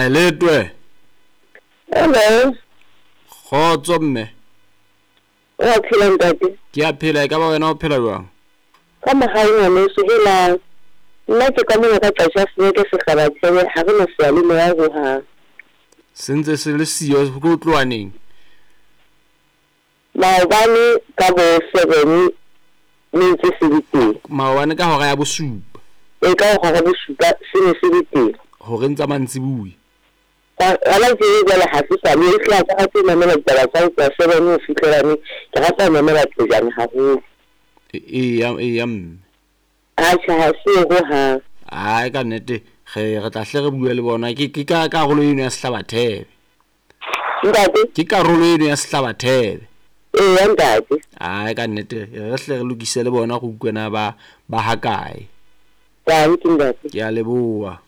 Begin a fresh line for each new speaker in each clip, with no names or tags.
Haeletwe.
Hello.
Kgotso mme.
O a phela ntate?
Ke a phela, e ka ba wena o phela jwang?
Ka mohau ngwaneso, helang. Nna ke ka mona ka Qacha Seneke Sehlabathebe, ha re na seyalemoya hohang.
Se ntse se le siyo ke ho tloha neng?
Maobane ka bo 7 ne ntse se le teng.
Maobane ka hora ya bosupa.
Ee, ka hora ya bosupa se ne se le teng.
Horeng tsa mantsibuya.
Hona tje jwale ha se sa le, ehlile ha ke rate ho mamela ditaba tsa ho tloha 7 ho fihlela neng, ke rata ho mamela Qejane haholo.
Eya, eya mme.
Atjhe, ha se yo hohang.
Ae ka nnete re re tla hle re bue le bona. Ke ke ka karolo eno ya Sehlabathebe.
Ntate?
Ke karolo eno ya Sehlabathebe.
Eya ntate.
Ae ka nnete re hle re lokise le bona re utlwe na ba ba hakae.
Danki ntate.
Ke a leboha.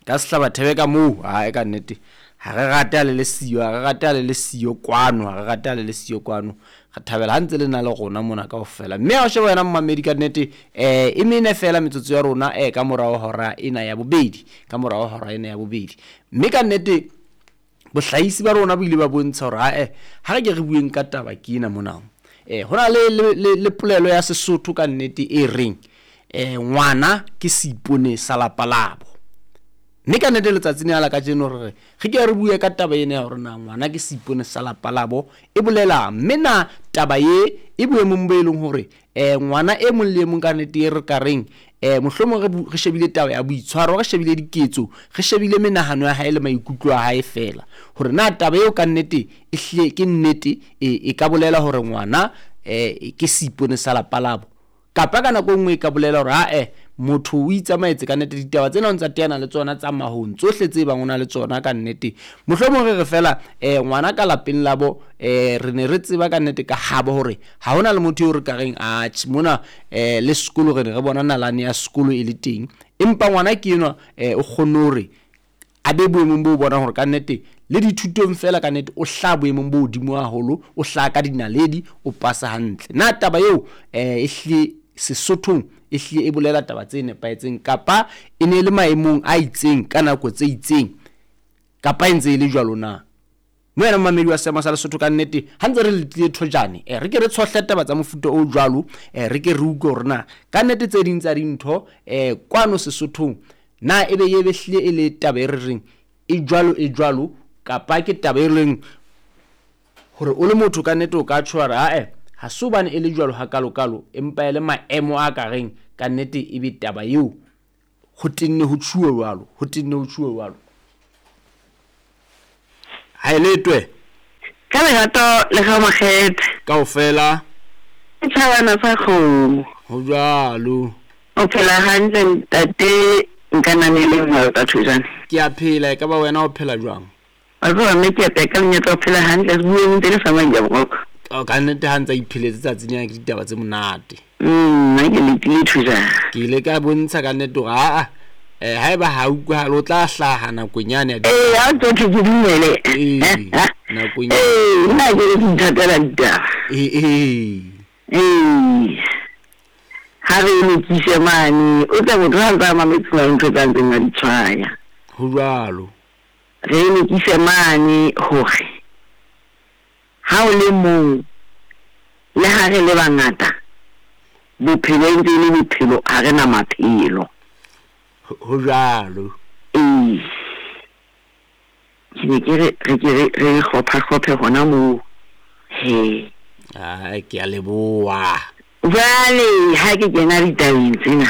Ka Sehlabathebe ka moo, ae ka nnete ha re rate ha le le siyo, ha re rate ha le le siyo kwano, ha re rate ha le le siyo kwano. Re thabela ha ntse le na le rona mona kaofela. Mme ha o sheba wena momamedi ka nnete e mene fela metsotso ya rona ka morao hora ena ya bobedi, ka morao hora ena ya bobedi. Mme ka nnete bohlahisi ba rona bo ile ba bontsha hore ae ha re ke re bueng ka taba ke ena mona. Ho na le le le polelo ya Sesotho ka nnete e reng ngwana ke seipone sa lapa labo. Mme ka nnete letsatsing lena la kajeno re re re ke re bue ka taba ena ya hore na ngwana ke seipone sa lapa labo e bolelang. Mme na taba ye e boemong bo e leng hore ngwana e mong le e mong ka nnete e re ka reng mohlomong re re shebile taba ya boitshwaro, re shebile diketso, re shebile menahano ya hae le maikutlo a hae feela. Hore na taba eo ka nnete e hlile ke nnete e ka bolela hore ngwana ke seipone sa lapa labo. Kapa ka nako e nngwe e ka bolela hore ae motho o itsamaetse ka nnete, ditaba tsena o ntsa teana le tsona tsa mahong, tsohle tse bang o na le tsona ka nnete. Mohlomong re re feela ngwana ka lapeng labo re ne re tseba ka nnete ka habo hore ha hona le motho eo re ka reng atjhe mona le sekolo re ne re bona nalane ya sekolo e le teng. Empa ngwana ke enwa o kgonne hore a be boemong bo bonang hore ka nnete le dithutong feela ka nnete o hlaha boemong bo hodimo haholo, o hlaha ka dinaledi, o pasa hantle. Na taba eo e hlile Sesothong e hlile e bolela taba tse nepahetseng kapa e ne e le maemong a itseng ka nako tse itseng kapa e ntse e le jwalo na? Mme wena momamedi wa Seema sa Lesotho ka nnete ha ntse re letile thojane re ke re tshohle taba tsa mofuta o jwalo re ke re utlwe hore na ka nnete tse ding tsa dintho kwano Sesothong na ebe ye be hlile e le taba e re reng e jwalo e jwalo kapa ke taba e leng hore o le motho ka nnete o ka tjho wa re ae ha se hobane e le jwalo hakalokalo empa e le maemo a ka reng ka nnete ebe taba eo ho tenne ho tjhuwe jwalo, ho tenne ho tjhuwe jwalo. Ha e letwe.
Ka lerato le ga Makgethe.
Kaofela.
Ke tjhabana sa kgomo.
Ho jwalo.
O phela hantle ntate Nkananeleng Walter Thojane?
Ke a phela, e ka ba wena o phela jwang?
Wa tseba mme ke a ka monyetla wa ho phela hantle re bueng ntse le sa manja boroko.
Oh, ka nnete ha ntse a ipheletse tsatsi lena ke ditaba tse monate.
Nna ke letile Thojane.
Ke ile ka bontsha ka nnete hore aa haeba ha utlwahale o tla hlaha nakong yane ya
Ee, ha o tlo thwe ke dumele.
Ee, nakong ya
Ee, nna ha ke re ke ithatela ditaba.
Ee, ee.
Ee. Ha re e lokise mane, o tle motho ha ntse a mametse ho na le ntho tse a ntseng a di tshwaya.
Ho jwalo.
Re e lokise mane hore ha o le mong le ha re le bangata, bophelo e ntse e le bophelo, ha re na maphelo.
Ho jwalo.
Ee. Ke ne ke re re ke re re hlopha-hlophe hona moo he.
Ai, ke a leboha.
Jwale ha ke kena ditabeng tsena,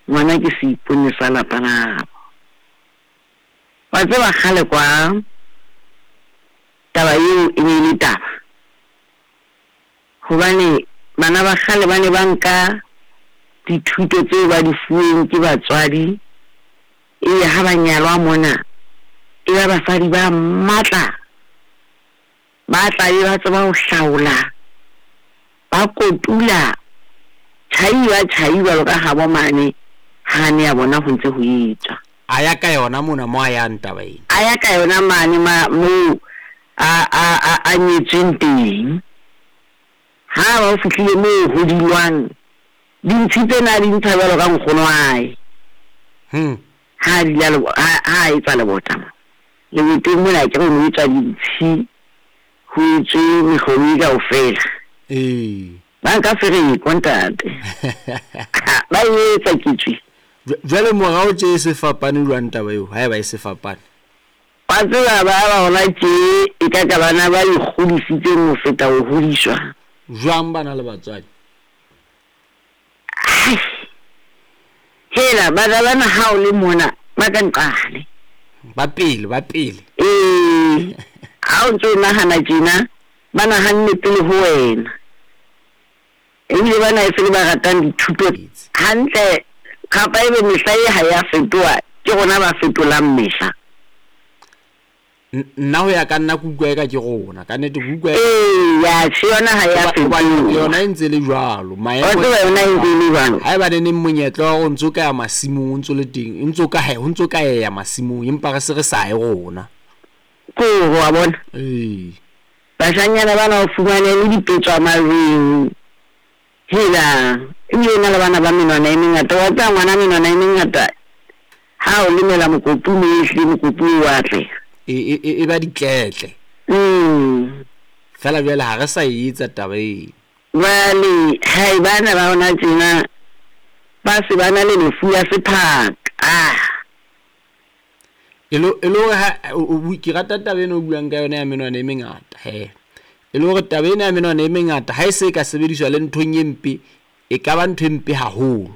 ngwana ke seipone sa lapa labo. Wa tseba kgale kwa taba eo e ne e le taba, hobane bana ba kgale ba ne ba nka dithuto tseo ba di fuweng ke batswadi, ebe ha ba nyalwa mona e ba basadi ba matla, ba tla be ba tseba ho hlaola, ba kotula tjhai ba tjhai jwalo ka habo mane ha ne ya bona ho ntse ho etswa.
A ya ka yona mona mo a yang taba ena.
A ya ka yona mane ma moo a a a a nyetsweng teng. Ha ba o fihlile moo ho dulwang, dintshi tsena a di ntsha jwalo ka nkgono wa hae. Ha dula ha a etsa lebota mo. Leboteng mona akere ho no etswa dintshi, ho etswe mehlobo e kaofela.
Ee.
Ba nka fereko ntate. Ba e etsa ketswe.
Jwale morao tje e se fapane jwang taba eo, haeba e se fapane?
Wa tseba ba ba hona tje e ka ka bana ba ikgodisitseng ho feta ho hodiswa.
Jwang bana le batswadi?
Hai. Hela bana bana ha o le mona ba ka nqale.
Ba pele, ba pele.
Ee. Ha o ntso o nahana tjena, ba nahanne pele ho wena. Ebile bana e se le ba ratang dithuto hantle, kapa ebe mehla e ha ya fetoha, ke rona ba fetolang mehla.
Nna ho ya ka nna ke utlwa eka ke rona, ka nnete ke utlwa.
Ee, ya tjhe yona ha ya fetoha.
Yona e ntse le jwalo.
Maemo. Wa tseba yona e ntse e le jwalo.
Haeba ne neng monyetla wa hore o ntso ka ya masimong o ntso le teng, o ntso ka ho ntso ka ya masimong empa re se re sa ye rona.
Ko wa bona?
Ee.
Bashanyana bana o fumane le dipetswa majweng. Hela, ebile na le bana ba menwana e mengata. Wa tseba ngwana menwana e mengata ha o lemela mokopu moo ehlile mokopu o wa atleha.
E ba ditletle. Feela jwale ha re sa e etsa taba eo.
Jwale hai bana ba hona tjena ba se ba na le lefu la sephaka.
E le hore ha ke rata taba ena o buang ka yona ya menwana e mengata he. E le hore taba ena ya menwana e mengata ha e se e ka sebediswa le nthong e mpe, e ka ba ntho e mpe haholo.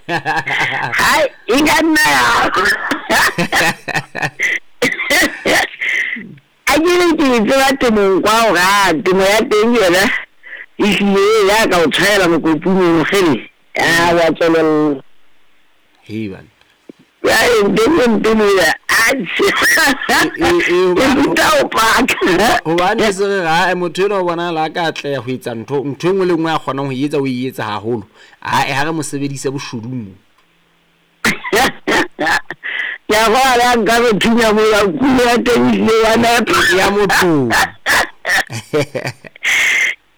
Hai, e ka nna ya. A ke re ke tseba temong kwa hore a temo ya teng yona ehlile ya ka o tshwaela mokopung o kgele. A wa tswelella.
Hei bana.
Jwale ntho e mpe mona, atjhe. E ruta ho paka.
Hobane se re ha motho enwa o bonahala a ka atleha ho etsa ntho ntho e nngwe le nngwe a kgonang ho e etsa o e etsa haholo. Ae ha re mo sebedise boshodung mo.
Ke a kgolwa le ha nka re thunya mola kulo ya teng ehlile wa nepa.
Ya motho.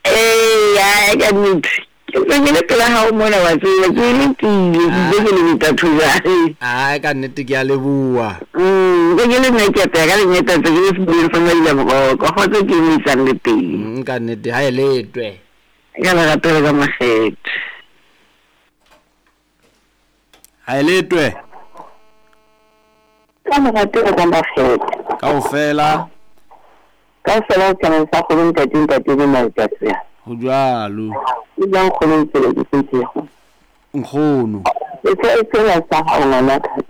Ee, ka nnete. Ke ntse ke le pela hao mona wa tseba, ke letile, ke itse ke le metatho jwale.
Ae ka nnete ke a leboha.
Ntse ke le nna ke apeha ka lengeta ntse ke le sebuleng sa Maila Moroko, kgotso ke e isang le teng.
Ka nnete ha e letwe.
Ka lerato le ka makgethe.
Ha e letwe.
Ka lerato le ka makgethe.
Kaofela.
Kaofela o tshwanang sa kgolo ntate ntate le matsatsi.
Ho jwalo.
E jwang kgolo ntse ke setsego.
Nkgono.
E tsela sa hao ngwanaka.